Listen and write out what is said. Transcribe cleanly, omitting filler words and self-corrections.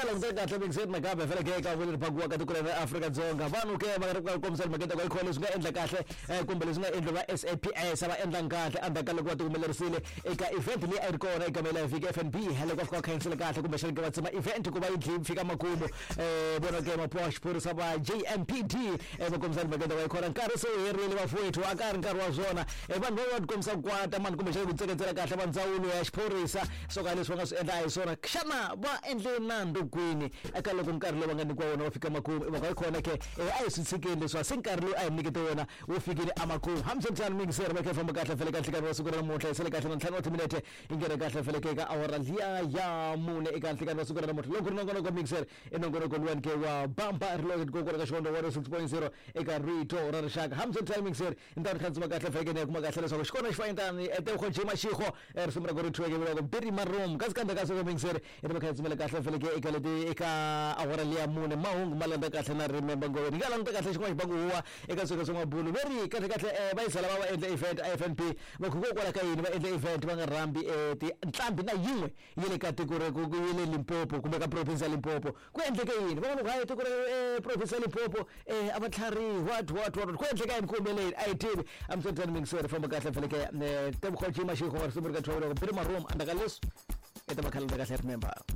Languta kahle mingiseri nakambe faneke eka vunene phakiwa ka tiko ra Afrika-Dzonga vanhu ke va ri ku kombisa mhaka ta ku leswi nga endla kahle kumbe leswi nga endliwa va SAPS va endla kahle endzhaku ka loko va tihumelerisile eka event leyi a yi ri kona eka mela vhiki FNB loko va fika va khanyisile kahle kumbe xana ke va tsema event ku va yi dli fika makumu vona ke mapuwa xiphorisa va JMPD va kombisa mhaka ta ku khona nkarhi se wu herile vafowethu a ka ha ri nkarhi wa swona vanhu va va tikombisa ku kwata mani kumbe xana ku tseketsela kahle va ndzawulo ya xiphorisa swo ka leswi va nga swi endla a hi swona xana va endle nandzu kwini eka loko nkarhi lowu va nga nyikiwa wona wa fika makumu i mhaka yi kona ke a hi swi tshikeni leswi se nkarhi lowu a hi nyikete wona wu fikile emakumu hambiswiritano mingiseri va kha famba kahle fele ka nhlikani wa siku ra namuntlha hi sele kahle na 5 wa timinete yi nghene kahle feleke eka awara liya ya mune eka nhlikani wa siku ra namuntlha loko ri nongonoko mingiseri i nongonoko luwani ke wa bamba ri kokwala ka xivondho 106.0 eka rito ra rixaka hambiswiritano mingiseri ni ta ri khandzima kahle feleke ni ya kuma kahle leswaku xikona xi fayintani etewugo jima xixo risimu ra ku ri thyiweke vuriwaka biri maroom kasi kambe ka siku mingiseri i ri kha dzimela kahle feleke eka leti eka awara liya mune mahungu ma landza kahle na remember ngoveni nga languta kahle xin'wana xibangu huwa eka swilo swa mabulu ve ri kahle kahle va yisa lava va endla event a FNB va hikokwalaho ka yini va endla event va nga rhambi tinqambi na yin'we ya le ka tiko ra ku ya le Limpopo kumbe ka province ya Limpopo ku endleke yini van'wana ku hayi tiko ra province ya Limpopo a va tlharihi what what what ku endleka yini ku humeleni a yi tivi a mi mingiseri famba kahle feleke tebogo jima xixo risimu ri ka thowela ku biri maroom andzaka leswi i ta va khalanda kahle remember.